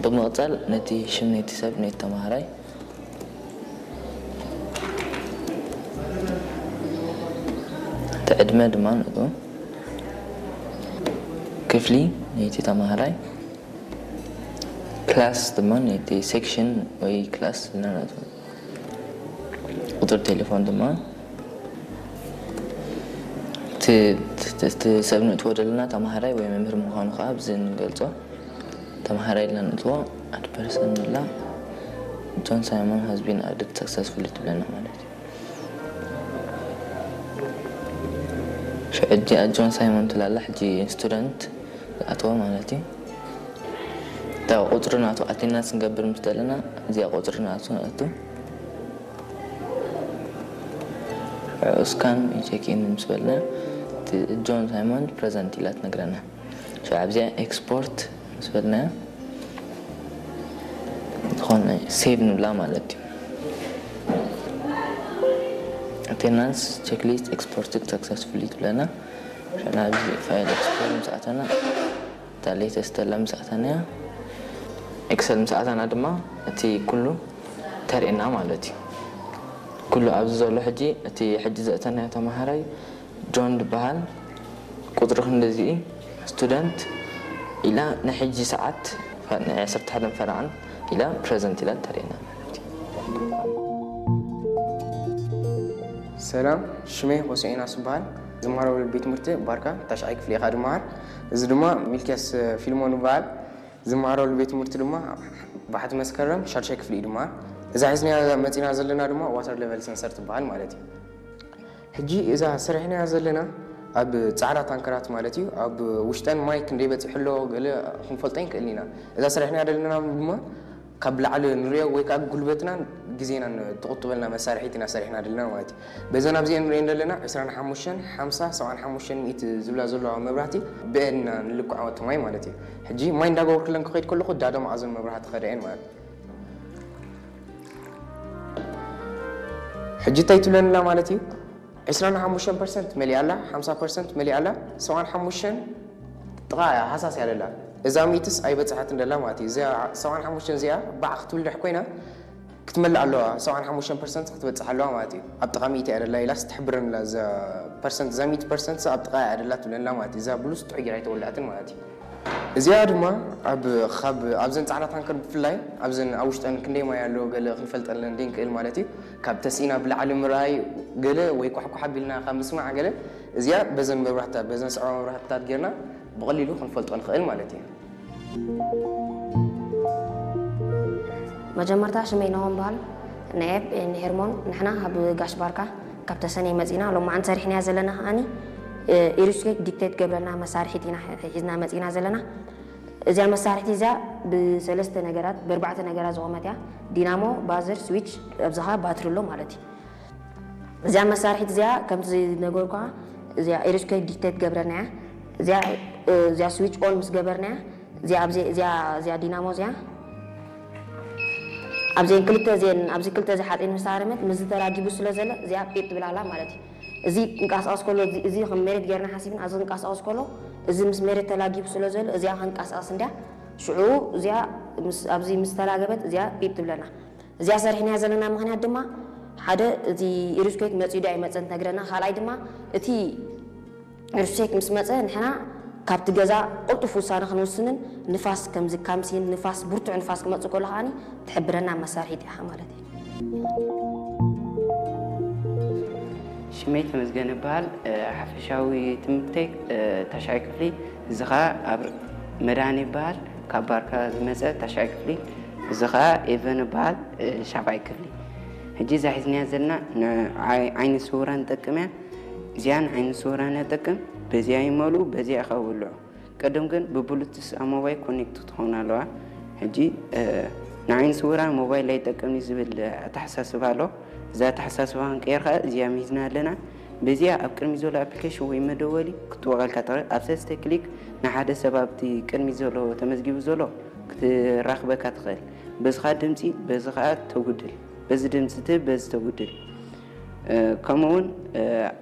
ብምቕጻል ነቲ ሽም ነቲ ሰብ ነቲ ተማሃራይ፣ እቲ ዕድመ ድማ ነቱ ክፍሊ ነቲ ተማሃራይ፣ ክላስ ድማ ነቲ ሴክሽን ወይ ክላስ ኢልና ነቱ ቁጽሪ ቴሌፎን ድማ እቲ ሰብ ንእትዎ ዘለና ተማሃራይ ወይ መምህር ምዃኑ ከዓ ብዚ ንገልጾ። ተማሃራይ ኢልና ንእትዎ ኣድ ፐርሰን ንብላ። ጆን ሳይሞን has been added successfully ትብለና ማለት እዩ። ሽዑ እዚኣ ጆን ሳይሞን ትላላ ሕጂ ስቱደንት ዝኣተወ ማለት እዩ። እታ ቁፅሪ ናቱ ኣቴንዳንስ ንገብር ምስ ዘለና እዚኣ ቁፅሪ ናቱ ነእቱ። ስካን ቼክ ኢን ምስ በልና ጆን ሳይሞን ፕረዘንት ኢላ ትነግረና። ሽዑ ኣብዚኣ ኤክስፖርት ምስ በልናዮ ዝኾነ ሴቭ ንብላ ማለት እዩ። ኣቴንዳንስ ቼክሊስት ኤክስፖርትድ ሰክሰስፉሊ ትብለና። ሽዑ ናብዚ ፋይል ኤክስፖርት ምስ ኣተና እታ ሌተስት ዘላ ምስ ኣተናያ ኤክሰል ምስ ኣተና ድማ እቲ ኩሉ ተርእየና ማለት እዩ። ኩሉ ኣብዚ ዘሎ ሕጂ እቲ ሕጂ ዘእተናዮ ተምሃራይ ጆን ዝበሃል ቁፅሪ ክንድዚ ስቱደንት ኢላ ንሕጂ ሰዓት ናይ ዓሰርተ ሓደ ፈረቓን ኢላ ፕረዘንት ኢላ ተርእየና ማለት እዩ። ሰላም፣ ሽመይ ሆሴዕና ስበሃል። ዝማረሉ ቤት ትምህርቲ ባርካ ታሽዓይ ክፍሊ ኢኻ ድመሃር። እዚ ድማ ሚልክያስ ፊልሞን ይበሃል። ዝመሃረሉ ቤት ትምህርቲ ድማ ባሕቲ መስከረም ሻድሻይ ክፍሊ እዩ ድመሃር። እዛ ሒዝናያ መፂና ዘለና ድማ ዋተር ሌቨል ሰንሰር ትበሃል ማለት እዩ። ሕጂ እዛ ሰሪሕናያ ዘለና ኣብ ፃዕዳ ታንከራት ማለት እዩ። ኣብ ውሽጠን ማይ ክንደይ በፂሑ ኣሎ ገለ ክንፈልጦ ይንክእል ኢና። እዛ ሰሪሕናያ ዘለና ድማ ካብ ላዕሊ ንሪኦ ወይ ከዓ ጉልበትናን ግዜናን ትቑጥበልና መሳርሒት ኢና ሰሪሕና ዘለና ማለት እዩ። በዘን ኣብዚአን ንሪአን ዘለና ዕስራን ሓሙሽተን፣ ሓምሳ፣ ሰብዓን ሓሙሽተን ሚእቲ ዝብላ ዘለዋ መብራህቲ ብአን ኢና ንልክዖ እቲ ማይ ማለት እዩ። ሕጂ ማይ እንዳገበርኩለን ክኸይድ ከለኹ ዳዶ መኣዘን መብራህቲ ከደአን ማለት እዩ። ሕጂ እንታይ ትብለንላ ማለት እዩ? ዕስራን ሓሙሽተን ፐርሰንት መሊኣ ኣላ፣ ሓምሳ ፐርሰንት መሊኣ ኣላ፣ ሰብዓን ሓሙሽተን ጥቓ እያ ሃሳስ እያ ደላ። እዛ ሚእትስ ኣይበጽሓትን ደላ ማለት እዩ። እዚኣ ሰብዓን ሓሙሽተን እዚኣ ባዕ ክትብል ድሕ ኮይና ክትመልእ ኣለዋ። ሰብዓን ሓሙሽተን ፐርሰንት ክትበጽሕ ኣለዋ ማለት እዩ። ኣብ ጥቓ ሚእቲ እያ ደላ ኢላስ ትሕብረንላ። እዛ ፐርሰንት፣ እዛ ሚእቲ ፐርሰንት ኣብ ጥቓ እያ ደላ ትብለንላ ማለት እዩ። እዛ ብሉስ ጥዑይ ጌራ ኣይተወልዐትን ማለት እዩ። እዚኣ ድማ ኣብ ካብ ኣብዘን ጻዕዳ ታንከር ብፍላይ ኣብዘን ኣብ ውሽጠን ክንደይ ማይ ኣሎ ገለ ክንፈልጠለን ደይንክእል ማለት እዩ። ካብ ተስኢና ብላዕሊ ምርኣይ ገለ ወይ ኳሕኳሕ ኣቢልና ካብ ምስማዕ ገለ እዚኣ በዘን መብራህትታት በዘን ስዕባ መብራህትታት ጌርና ብቐሊሉ ክንፈልጦ ንኽእል ማለት እዩ። መጀመርታ ሽመይ ናሆም በሃል። ንኤብ ንሄርሞን ንሕና ካብ ጋሽ ባርካ ካብ ተሰነይ መጺና ሎማዓንቲ ሰሪሕናያ ዘለና ከዓኒ ኢሩስኬት ዲክቴት ገብረልና መሳርሒት ኢና ሒዝና መጺና ዘለና። እዚኣ መሳርሒት እዚኣ ብሰለስተ ነገራት ብኣርባዕተ ነገራት ዝቖመት እያ። ዲናሞ፣ ባዘር፣ ስዊች፣ ኣብዚኻ ባትሪ ኣሎ ማለት እዩ። እዚኣ መሳርሒት እዚኣ ከምቲ ዝነገርኳ እዚኣ ኢሩስኬት ዲክቴት ገብረልና እያ። እዚኣ እዚኣ ስዊች ኦን ምስ ገበርናያ እዚኣ ኣብዚ እዚኣ እዚኣ ዲናሞ እዚኣ ኣብዘን ክልተ እዚአን ኣብዚ ክልተ እዚ ሓፂን ምስ ሃረመት ምስዚ ተላጊቡ ስለ ዘሎ እዚኣ ጲጥ ትብል ኣላ ማለት እዩ። እዚ ክንቀሳቀስ ከሎ እዚ ከም መሬት ገይርና ሓሲብና ኣብዚ ክንቀሳቀስ ከሎ እዚ ምስ መሬት ተላጊቡ ስለ ዘሎ እዚኣ ክንቀሳቀስ እንዲያ ሽዑ እዚኣ ኣብዚ ምስ ተላገበት እዚኣ ጲጥ ትብለና። እዚኣ ሰሪሕናያ ዘለና ምኽንያት ድማ ሓደ እቲ ኢሩስኬት መፂኡ ዶ ኣይመፀን ትነግረና፣ ካልኣይ ድማ እቲ ሩሴክ ምስ መጸ ንሕና ካብቲ ገዛ ቅልጡፍ ውሳነ ክንውስንን ንፋስ ከምዚ ካምሲን ንፋስ ብርቱዕ ንፋስ ክመጽእ ከሎ ከዓኒ ትሕብረና መሳርሒት ኢኻ ማለት እዩ። ሽመይ ተመስገን እበሃል። ሓፈሻዊ ትምህርተይ ታሽዓይ ክፍሊ፣ እዚ ኸዓ ኣብ መድሃን ይበሃል፣ ካብ ባርካ ዝመጸ ታሽዓይ ክፍሊ። እዚ ኸዓ ኤቨን እበሃል፣ ሻብዓይ ክፍሊ። ሕጂ እዛ ሒዝናያ ዘለና ንዓይኒ ስውራን ትጠቅም እያ። እዚኣ ንዓይኒ ስውራን እያ ትጠቅም። በዚኣ ይመልኡ፣ በዚኣ ኢኻ ውልዑ። ቀደም ግን ብብሉቱስ ኣብ ሞባይል ኮኔክት ትኸውን ኣለዋ። ሕጂ ንዓይኒ ስውራን ሞባይል ኣይጠቅምን እዩ ዝብል ኣተሓሳስባ ኣሎ። እዚ ኣተሓሳስባ ክንቀይር ከኣ እዚኣ ሚዝና ኣለና። በዚኣ ኣብ ቅድሚት ዘሎ ኣፕሊኬሽን ወይ መደወሊ ክትወቐልካ ትኽእል። ኣብ ሰለስተ ክሊክ ንሓደ ሰብ ኣብቲ ቅድሚት ዘሎ ተመዝጊቡ ዘሎ ክትራኽበካ ትኽእል። በዚ ከኣ ድምጺ፣ በዚ ከኣ ተጉድል፣ በዚ ድምጺ ትህብ፣ በዚ ተጉድል። ከምኡ እውን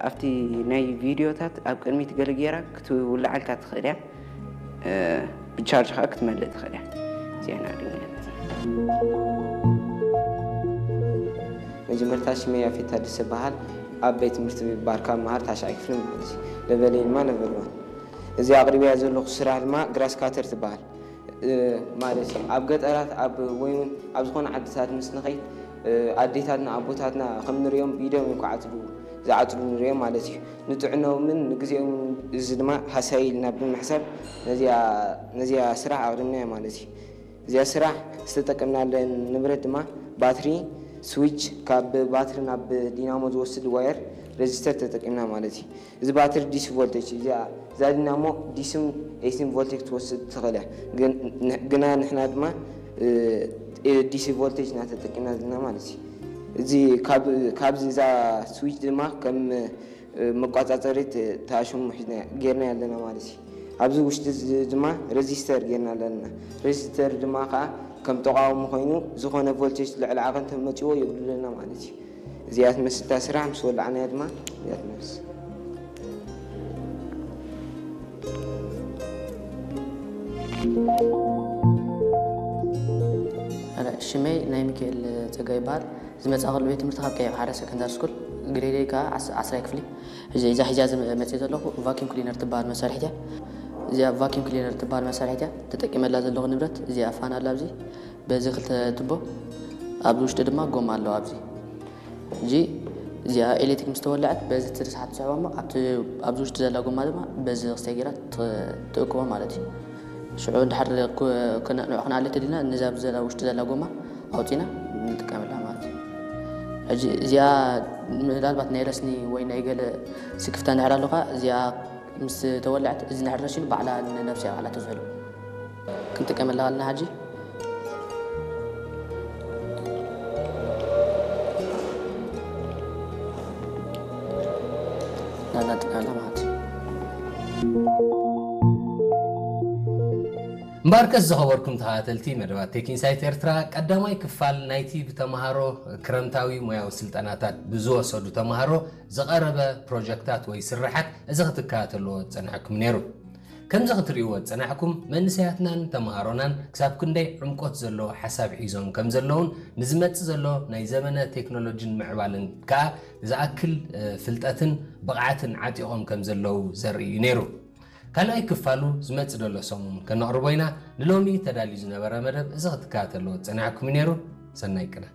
ኣብቲ ናይ ቪድዮታት ኣብ ቅድሚት ገለ ጌራ ክትውልዓልካ ትኽእል እያ። ብቻርጅ ከዓ ክትመልእ ትኽእል እያ። ዜና ድንገት መጀመርታ ሽመይ ያፌት ታደሰ በሃል። ኣብ ቤት ትምህርቲ ባርካ መሃር ታሽዓይ ክፍሊ ማለት እዩ። ለበለይ ድማ ነበርዋን። እዚ ኣቕሪብያ ዘለኹ ስራሕ ድማ ግራስ ካተር ትበሃል ማለት እዩ። ኣብ ገጠራት ኣብ ወይ እውን ኣብ ዝኾነ ዓድታት ምስ ንኸይድ ኣዴታትና ኣቦታትና ከም ንሪኦም ብኢዶም እዮም ክዓፅዱ ዝዓፅዱ ንሪኦም ማለት እዩ። ንጥዕኖምን ንግዜኦምን እዚ ድማ ሃሳይ ኢልና ብምሕሳብ ነዚኣ ስራሕ ኣቕሪብናያ ማለት እዩ። እዚኣ ስራሕ ዝተጠቀምናለን ንብረት ድማ ባትሪ፣ ስዊች፣ ካብ ባትሪ ናብ ዲናሞ ዝወስድ ዋየር፣ ሬዚስተር ተጠቂምና ማለት እዩ። እዚ ባትሪ ዲሲ ቮልቴጅ እዚኣ እዛ ዲናሞ ዲስን ኤሲን ቮልቴጅ ክትወስድ ትኽእል እያ። ግና ንሕና ድማ ዲሲ ቮልቴጅ ኢና ተጠቂምና ዘለና ማለት እዩ። እዚ ካብዚ እዛ ስዊች ድማ ከም መቋፃፀሪት ታሽሙ ጌርና ኣለና ማለት እዩ። ኣብዚ ውሽጢ ድማ ሬዚስተር ጌርና ኣለና። ሬዚስተር ድማ ከዓ ከም ተቃውሞ ኮይኑ ዝኾነ ቮልቴጅ ልዕሊ ዓቐን ተመፂዎ የጉድለና ማለት እዩ። እዚኣ ትመስል እታ ስራሕ ምስ ወላዕናያ ድማ እዚኣ ትመስል። ሽመይ ናይ ሚካኤል ፀጋ ይበሃል። ዝመፃእኩሉ ቤት ትምህርቲ ካብ ቀይሕ ሓደ ሰከንዳሪ ስኩል ግሬደይ ከዓ ዓስ- ዓስራይ ክፍሊ። ሕዚ እዛ ሒዛ ዝመ- መፅእ ዘለኹ ቫኪዩም ክሊነር ትበሃል መሳርሒት እያ። እዚኣ ቫኪዩም ክሊነር ትበሃል መሳርሒት እያ። ተጠቂመላ ዘለኹ ንብረት እዚኣ ፋን ኣላ ኣብዚ በዚ ክልተ ትቦ ኣብዚ ውሽጢ ድማ ጎማ ኣለዋ ኣብዚ ሕጂ እዚኣ ኤሌክትሪክ ምስ ተወለዐት በዚ እቲ ርስሓት ትስሕቦ እሞ ኣብቲ ኣብዚ ውሽጢ ዘላ ጎማ ድማ በዚ ክስታይ ገይራ ትእክቦ ማለት እዩ። ሽዑ እንድሕር ንዑ ክነእልዮ ተደሊና ነዛ ኣብዚ ዘላ ውሽጢ ዘላ ጎማ ኣውፂና ንጥቀመላ ማለት እዩ። ሕጂ እዚኣ ምናልባት ናይ ረስኒ ወይ ናይ ገለ ስክፍታ እንድሕር ኣለካ እዚኣ ምስ ተወለዐት እዚ እንድሕር ረሲኑ ባዕላ ንነብሳ እያ ባዕላ ትዝሕሎ። ክንጥቀመላ ከለና ሕጂ ናብዛ ንጥቀመላ ማለት እዩ። እምበኣርከስ ዝኸበርኩም ተኸታተልቲ መደባት ቴክ ኢንሳይት ኤርትራ ቀዳማይ ክፋል ናይቲ ብተምሃሮ ክረምታዊ ሞያዊ ስልጠናታት ብዝወሰዱ ተምሃሮ ዝቐረበ ፕሮጀክታት ወይ ስርሓት እዚ ክትከታተልዎ ዝጸናሕኩም ነይሩ። ከምዚ ክትርእይዎ ዝጸናሕኩም መንእሰያትናን ተምሃሮናን ክሳብ ክንደይ ዕምቆት ዘለዎ ሓሳብ ሒዞም ከም ዘለውን ንዝመጽእ ዘሎ ናይ ዘመነ ቴክኖሎጂን ምዕባልን ከኣ ዝኣክል ፍልጠትን ብቕዓትን ዓጢቖም ከም ዘለዉ ዘርኢ እዩ ነይሩ። ካልኣይ ክፋሉ ዝመጽእ ዘሎ ሰሙን ከነቕርቦ ኢና። ንሎሚ ተዳልዩ ዝነበረ መደብ እዚ ክትከታተልዎ ዝጸናሕኩም እዩ ነይሩ። ሰናይ ቅነ።